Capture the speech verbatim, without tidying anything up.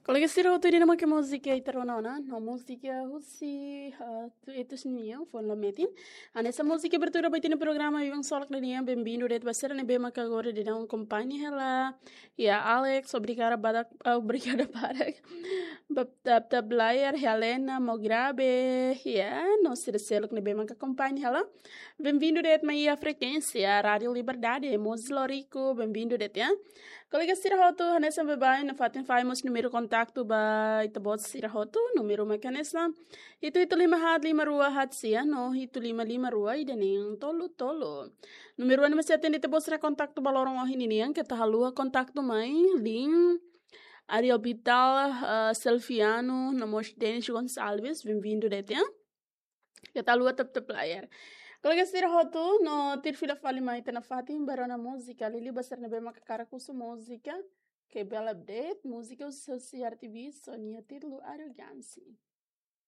Kolega sira hotu, ida-ne'e mak múzika ita rona ona, no múzika husi, ah, Tuetus nian, foin la metin. Hanesan múzika abertura ba ita-nia programa Biban Ksolok nian, bem-vindu de'it ba sira ne'ebé maka agora daudaun akompaña hela. Ya, Alex, obrigada barak, ah, obrigada barak. Bab tab tab layar, Helena, Mograbe, ya, no sira seluk ne'ebé maka akompaña hela. Bem-vindu de'it mai iha frekuénsia Rádio Liberdade, Mozambique, bem-vindu de'it, ya. Kolega sira hotu, hanesan baibain, nafatin fó mós númeru kontaktu ba ita-boot sira hotu, númeru mak hanesan hitu hitu lima haat lima rua haat sia, no hitu lima lima rua ida neen tolu tolu. Númeru ne'ebé sei atende ita-boot sira kontaktu ba loron ohin nian, keta haluha kontaktu mai, Lin, Ariel Vital, ah, Selfiano, no mós Denis Gonçalves, bem-vindu de'it, ya. Keta haluha tab tab layar. Kolega sira hotu, no tuir fila fali mai ita nafatin ba rona múzika, liuliu ba sira ne'ebé maka hakarak husu múzika, ke bela update, múzika husi, husi R T V, so nia títulu Arrogância.